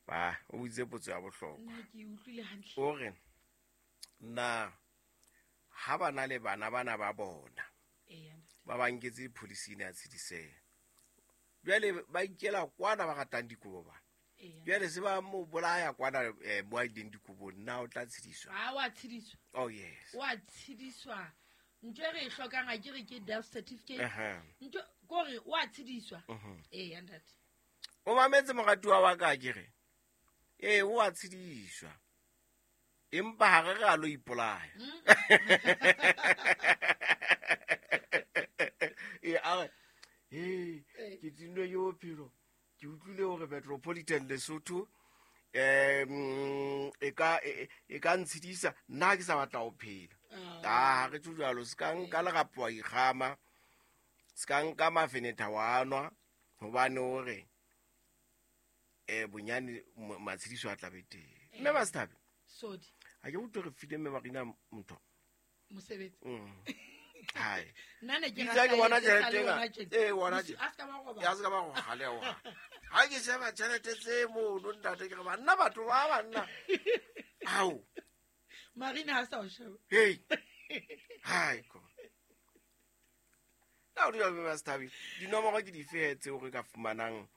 Ba o boditse potso ya bohlokwa. Nna ke e utlwile hantle. O re na ha ba na le bana bana ba bona Eya, ntate. ba ba nketse dipholising ya tshediseha, jwale ba ikela kwana ba ratang dikobo bana, Eya. jwale se ba mo bolaya kwana mo a ileng dikobong, na o tla tshediswa? Ha wa tshediswa. Oh yes. Wa tshediswa. Ntho e re e hlokang ha ke re ke death certificate. Aha. Ntho kore wa tshediswa. Mhm. Eya, ntate. O mametse moratuwa wa ka, ke re ee, o a tshediswa, empa ha re re a lo ipolaya. Ee, a re ee, ke tinnwe ke bophelo, ke utlwile hore Metropolitan Lesotho e ka e ka ntshedisa, nna ha ke sa batla ho phela. Ah, ha re tjho jwalo, se ka nka lerapo wa ikgama, se ka nka mafenetha wa nwa, hobane o re bonyane matshediso a tlabe teng. Mme Masethabe, Sodi. ha ke utlwe re file mme Marina ntho. Mosebetsi. Hai. Nna ne ke Itse ha ke bona rata e tjhelete sa le ena. hona tjena. Ee, hona Mosi- tjena. a ska ba roba. Ya se ka ba go galewa. Ha ke sheba tjhelete tse mono ntate, ke re banna batho ba banna. Ao. Marina ha sa o sheba. Hey. Hai ko. Na o dula mme Masethabe, dinomoro ke dife he tseo re ka fumanang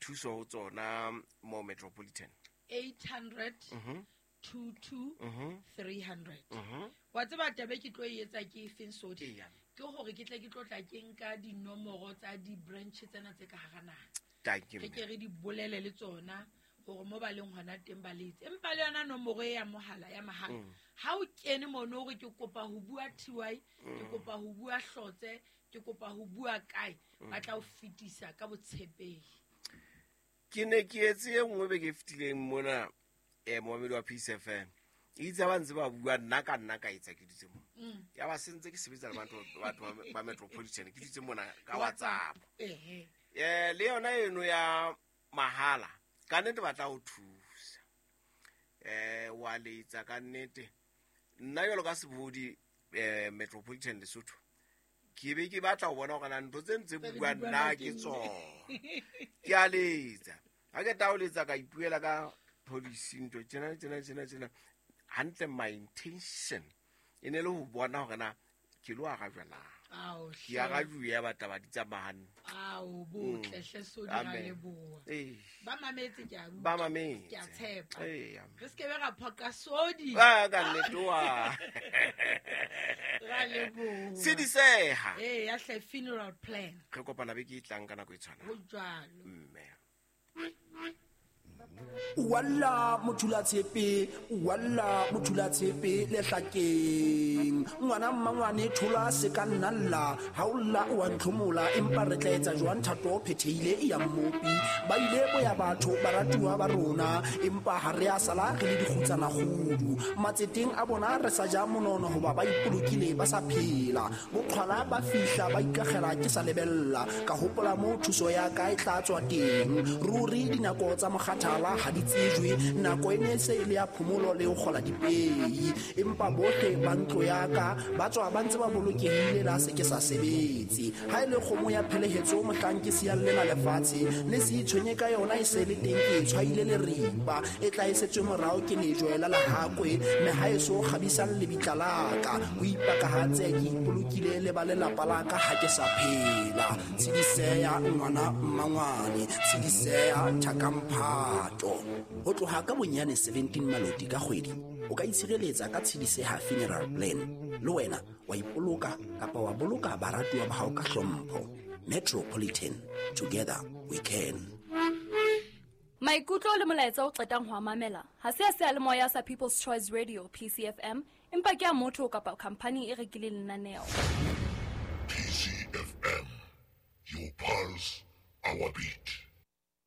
thuso ho tsona mo Metropolitan? 800 Mhm. 22 Mhm. 300. Mhm. Wa tseba taba e ke tlo e etsa ke efeng, Sodi? Eya. Ke hore ke tle ke tlo tla ke nka dinomoro tsa di-branch tsena tse ka hara naha. Thank you. Re ke re di bolele le tsona hore mo ba leng hona teng ba letse. Empa le yona nomoro e ya mohala ya mahala. Ha o kene mono hore ke kopa ho bua TY, ke kopa ho bua Hlotse, ke kopa ho bua kae, ba tla o fetisa ka botshepehi. Ke ne ke etse e nngwe beke e fetileng mona, momamedi wa Peace FM. Itse ha ba ntse ba bua, nna ka nna ka etsa ke dutse mona. Ya ba sentse ke sebetsa le batho ba Metropolitan, ke dutse mona ka WhatsApp. Ehe. Le yona eno ya mahala, ka nnete ba tla ho thusa. Wa letsa ka nnete. Nna jwalo ka sebohodi, Metropolitan Lesotho, ke be ke batla ho bona hore na ntho tse ntse Tse re bua di buang nna na ke ke tsona. Ke a letsa. Ha ke tla ho letsa ka ipuela ka policy ntho tjena tjena tjena tjena. Hantle my intention e ne le ho bona hore na ke lo arajwa na. Ao, Ke hle. arajuwe ya batla ba di tsamaya hantle. Ao, botle hle Sodi, ra Amen. leboha. Ee. Ba mametse ke a utlwa. Ba mametse. Ke a tshepa. Ee, amen. Re se ke be ra phoqa Sodi. Ah, ka nnete wa. Ra leboha. Sediseha. Ee, ya hle funeral plan. Re kopana beke e tlang ka nako e tshwanang. Ho jwalo. Mme. Walla mothula tshepe, walla mothula tshepe lehlakeng. Ngwana mmangwane thola se ka nna lla, ha o lla o a ntlhomola, empa re tla etsa jwang thato o phethehile e ya mmopi. Ba ile boya batho baratuwa ba rona, empa ha re a sala re le dikgutsana kgudu. Matseteng a bona re sa ja monono hoba ba ipolokile ba sa phela. Boqhwala ba fihla ba ikakgela ke sa lebella, ka hopola moo thuso ya ka e tla tswa teng. Ruri dinako tsa mokgathala ha di tsejwe, nako e ne se e le ya phomolo le ho kgola dipei. Empa bohle ba ntlo ya ka ba tswa ba ntse ba bolokehile la se ke sa sebetse. Ha e le kgomo ya phelehetso mohlang ke siyang lena lefatshe, le se itshwenye ka yona e se le teng ke e tshwaile leripa. E tla e setswe morao ke lejwe la lehakwe, mme ha e so kgabisang lebitla la ka. Ho ipakahatse ke ipolokile le ba lelapa la ka ha ke sa phela. Tshidiseya ngwana mmangwane, tshidiseya thakamphato. Ho tloha ka bonyane 17 maloti ka kgwedi, o ka itshireletsa ka Tshidiseha funeral plan. Le wena wa ipoloka kapa wa boloka baratuwa ba hao ka hlompho. Metropolitan, together we can. Maikutlo le molaetsa o qetang ho a mamela ha se a seyalemoya sa People's Choice Radio PCFM, empa ke a motho kapa khamphani e rekileng lenaneo. PCFM, your pulse, our beat.